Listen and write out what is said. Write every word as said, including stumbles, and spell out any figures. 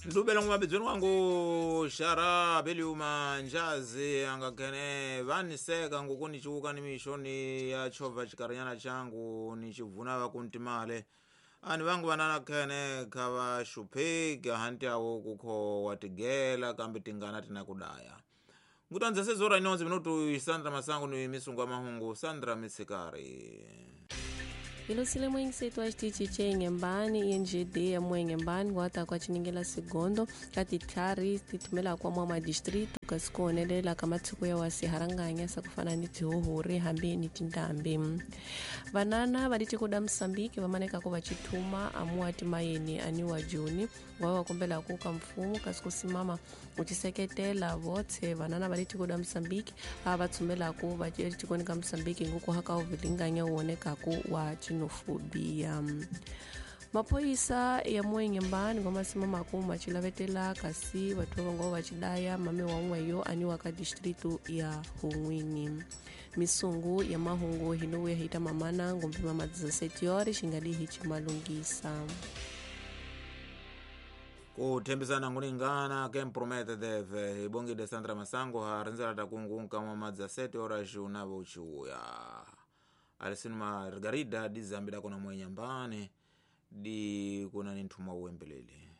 Ndubela ngumabhidzweni wangu xara beliuma njazi angakhene vaniseka nguku nichiuka ni mixoni ya chovha xikarinyana changu nichivuna vakuntimale ani vangu vanana khene kha va xupheki hanti awo kukho wa tigela kambe tingana tina kudaya ngutanza sezora inonze minutu Sandra Masango ni misungu ya mahungu Sandra Mitsikari. Ilusile mwengisetu wa xitichi Inhembane I N G D ya Muenhembane guata kwa chiningela segundo kati tlhari tithumela kwa mwa madistrito kasi ku honelela ka matiko ya wasiharanganya sakufana ni tihuhuri hambi ni tindhambi. Vanana va litiko da Msambiki vamaneka ku va chithuma amuwa timayeni aniwa Juni wa va kombela ku ka mfumo kasi ku simama ku tiseketela votse vanana va litiko da Msambiki a va tsumela ku va tikoni ka Msambiki nguku haka uvilinganya uoneka ku wa xenofobia. Maphoyisa ya Muenhembane ngoma kuma chilavetela kasi vathu va ngo va chidaya mame wa n'weyo aniwa ka distrito ya Honwini. Misungu ya mahungu hino ya hita mamana ngombe mama dezessete horas xingali hi chimalungisa. Ku thembisana ngulingana ke mpromete deve ibongide Sandra Masango ha rindzela ta kungunka mama dezessete horas unavo uchiuya. Alisini Margarida di zambida kuna Muenhembane di kuna ni nthumwa uwembelele.